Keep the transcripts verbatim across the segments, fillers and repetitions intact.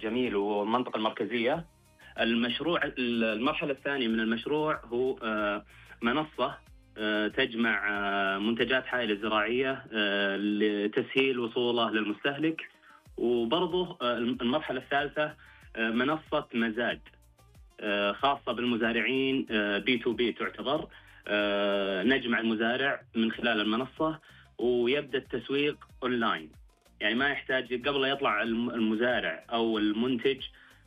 جميل والمنطقة المركزية. المشروع المرحلة الثانية من المشروع هو منصة تجمع منتجات حائل الزراعية لتسهيل وصوله للمستهلك. وبرضه المرحلة الثالثة منصة مزاد خاصة بالمزارعين، بي تو بي تعتبر. نجمع المزارع من خلال المنصة ويبدأ التسويق أونلاين، يعني ما يحتاج قبل لا يطلع المزارع أو المنتج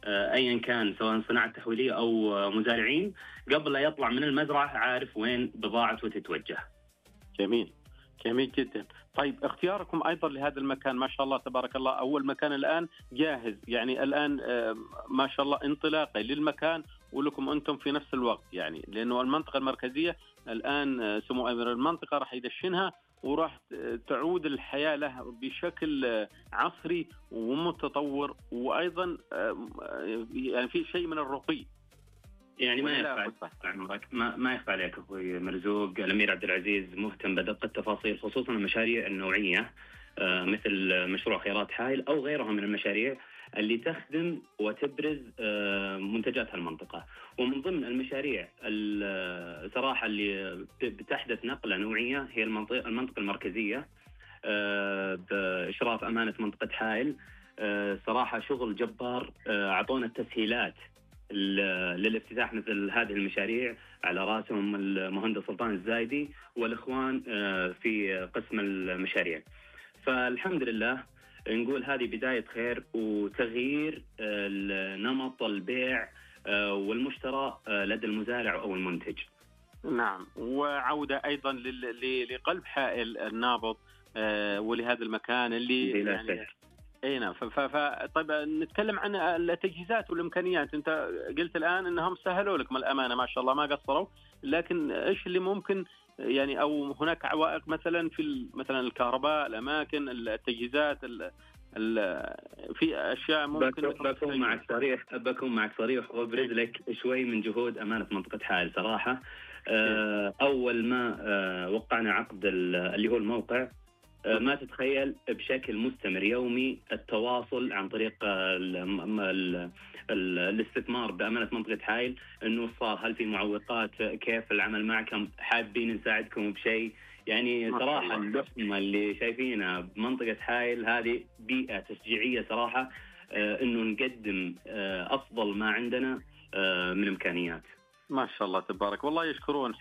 أيا كان سواء صناعة تحويلية أو مزارعين، قبل لا يطلع من المزرعة عارف وين بضاعته تتوجه. جميل جميل جدا. طيب اختياركم أيضا لهذا المكان ما شاء الله تبارك الله، أول مكان الآن جاهز، يعني الآن ما شاء الله انطلاقي للمكان ولكم أنتم في نفس الوقت، يعني لأنه المنطقة المركزية الآن سمو أمير المنطقة راح يدشنها وراح تعود الحياة له بشكل عصري ومتطور، وأيضا يعني في شيء من الرقي. يعني ما يخفى عمرك ما ما يخفى عليك أخوي مرزوق، الأمير عبد العزيز مهتم بدقة التفاصيل، خصوصا المشاريع النوعية مثل مشروع خيرات حائل أو غيرها من المشاريع اللي تخدم وتبرز منتجات هالمنطقة. ومن ضمن المشاريع الصراحة اللي بتحدث نقلة نوعية هي المنطقة المنطقة المركزية بإشراف أمانة منطقة حائل. صراحة شغل جبار، أعطونا التسهيلات للافتتاح مثل هذه المشاريع، على رأسهم المهندس سلطان الزايدي والإخوان في قسم المشاريع. فالحمد لله نقول هذه بداية خير وتغيير نمط البيع والمشترى لدى المزارع أو المنتج. نعم، وعودة أيضا لقلب حائل النابض ولهذا المكان اللي يعني اي نعم. طيب نتكلم عن التجهيزات والامكانيات. انت قلت الان انهم سهلوا لكم الامانه ما شاء الله ما قصروا، لكن ايش اللي ممكن يعني او هناك عوائق مثلا في مثلا الكهرباء، الاماكن، التجهيزات، ال ال في اشياء ممكن. بكون معك صريح بكون معك صريح وابرز لك شوي من جهود امانه منطقه حائل صراحه. اول ما وقعنا عقد اللي هو الموقع، ما تتخيل بشكل مستمر يومي التواصل عن طريق ال ال ال الاستثمار بأمانة منطقة حائل، إنه صار هل في معوقات، كيف العمل معكم، حابين نساعدكم بشيء. يعني صراحة اللحمة اللي شايفينها بمنطقة حائل هذه بيئة تشجيعية صراحة، إنه نقدم أفضل ما عندنا من إمكانيات. ما شاء الله تبارك والله، يشكرون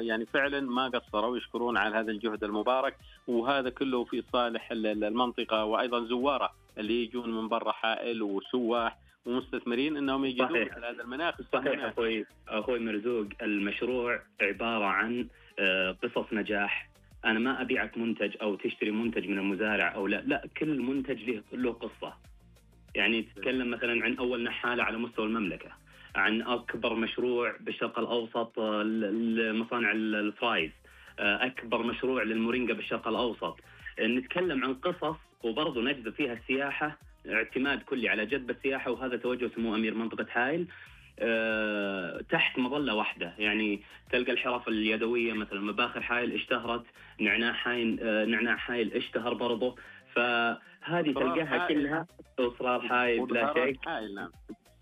يعني فعلا ما قصروا، يشكرون على هذا الجهد المبارك، وهذا كله في صالح المنطقة وأيضا زوارة اللي يجون من برا حائل وسواح ومستثمرين انهم يجدون مثل هذا المناخ. صحيح اخوي اخوي مرزوق، المشروع عبارة عن قصص نجاح. انا ما ابيعك منتج او تشتري منتج من المزارع او لا لا، كل منتج له له قصة. يعني تتكلم مثلا عن اول نحالة على مستوى المملكة، عن أكبر مشروع بالشرق الأوسط لمصانع الفرايز، أكبر مشروع للمورينجا بالشرق الأوسط. نتكلم عن قصص وبرضه نجذب فيها السياحة، اعتماد كلي على جذب السياحة، وهذا توجه سمو أمير منطقة حائل تحت مظلة واحدة. يعني تلقى الحرف اليدوية مثلا مباخر حائل اشتهرت، نعناع حائل نعناع حائل اشتهر برضه، فهذه تلقاها كلها إصرار حائل بلا شك.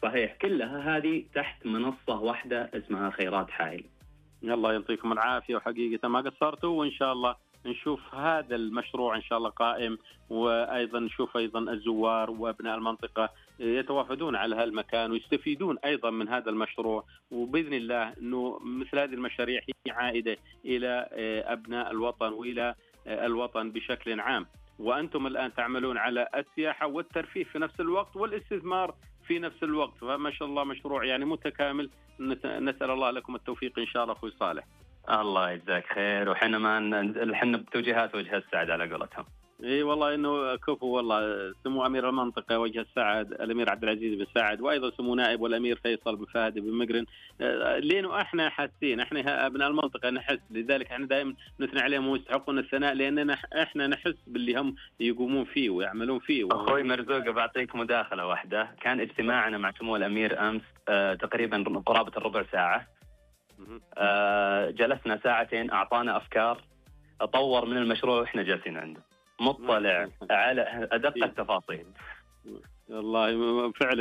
صحيح، كلها هذه تحت منصة واحدة اسمها خيرات حائل. الله يعطيكم العافية، وحقيقة ما قصرتوا، وإن شاء الله نشوف هذا المشروع إن شاء الله قائم، وأيضا نشوف أيضا الزوار وأبناء المنطقة يتوافدون على هالمكان ويستفيدون أيضا من هذا المشروع، وبإذن الله أنه مثل هذه المشاريع هي عائدة إلى أبناء الوطن وإلى الوطن بشكل عام. وأنتم الآن تعملون على السياحة والترفيه في نفس الوقت والاستثمار في نفس الوقت، فما شاء الله مشروع يعني متكامل. نسأل الله لكم التوفيق إن شاء الله أخوي صالح. الله يجزاك خير، وحنا ما حنا بتوجيهات وجه السعد على قولتهم. اي والله انه كفو والله، سمو امير المنطقه وجه السعد الامير عبد العزيز بن سعد، وايضا سمو نائب والامير فيصل بن فهد بن مقرن، لانه احنا حاسين، احنا ابناء المنطقه نحس، لذلك احنا دائما نثني عليهم ويستحقون الثناء، لاننا احنا نحس باللي هم يقومون فيه ويعملون فيه. اخوي مرزوق بعطيك مداخله واحده، كان اجتماعنا مع سمو الامير امس آه تقريبا قرابه الربع ساعه، آه جلسنا ساعتين، اعطانا افكار، اطور من المشروع واحنا جالسين عنده، مطلع على ادق التفاصيل. والله فعلا